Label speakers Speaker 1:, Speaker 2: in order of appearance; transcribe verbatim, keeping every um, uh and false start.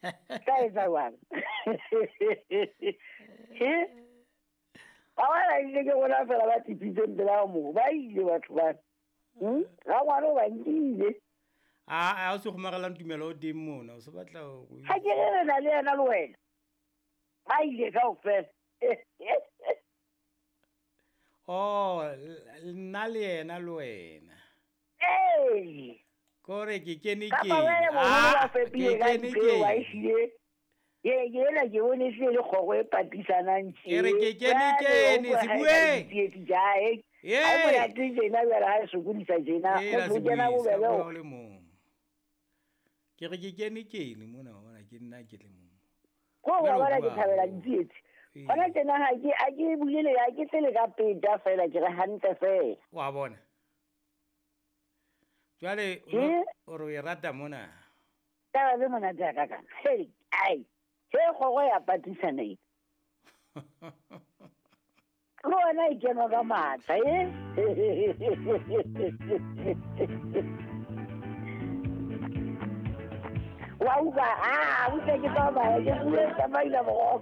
Speaker 1: Ka etsa jwang? Ba bana ile ke rona fela ba tsitsitseng pela moo. Ba ile batho bana. Hmm? Rangwane o ba nkile.
Speaker 2: A a o se kgomarelang tumelo o teng mona, o se batla ho
Speaker 1: Ha ke re re na le yena le wena. Ba ile kaofela.
Speaker 2: Oh, nna le yena le wena.
Speaker 1: Ee.
Speaker 2: Kore ke kene
Speaker 1: Kapa
Speaker 2: kene.
Speaker 1: wena boholo ba
Speaker 2: Ah, ke
Speaker 1: fepile ka
Speaker 2: kene
Speaker 1: dipeo, wa
Speaker 2: kene.
Speaker 1: ehlile. Ye, ke ena ke bone ehlile le kgoro e patisanang tje.
Speaker 2: Ke re ke kene
Speaker 1: Jwale,
Speaker 2: kene,
Speaker 1: o utlwa
Speaker 2: se
Speaker 1: ha e
Speaker 2: bueng.
Speaker 1: ka ditsietsi tja, eh.
Speaker 2: Ye.
Speaker 1: Ha e monate tjena jwale ha e sokodisa tjena.
Speaker 2: Ee, la
Speaker 1: Motho o kena
Speaker 2: se bue, se
Speaker 1: bobebe
Speaker 2: bua
Speaker 1: ho-
Speaker 2: o le mong. Ke re ke kene kene mona, wa bona, ke nna ke le mong.
Speaker 1: Ko wa
Speaker 2: Jwale o
Speaker 1: bona ke
Speaker 2: bua
Speaker 1: thabela
Speaker 2: haholo.
Speaker 1: ditsietsi.
Speaker 2: Ee.
Speaker 1: Hona tjena ha ke, ha ke bulele, ha ke tlele ka peta feela, ke re hantle feela.
Speaker 2: Wa bona. Jwale, o
Speaker 1: Ke?
Speaker 2: no, o re o e rata mona.
Speaker 1: Taba tse monate ya ka kana. Hei, ai. He kgoro ya patisana e. Le wena e kenwa ka matla, eh? Wa utlwa, ah, utlwa ke tsamaya, ke bue tsamaila boroko.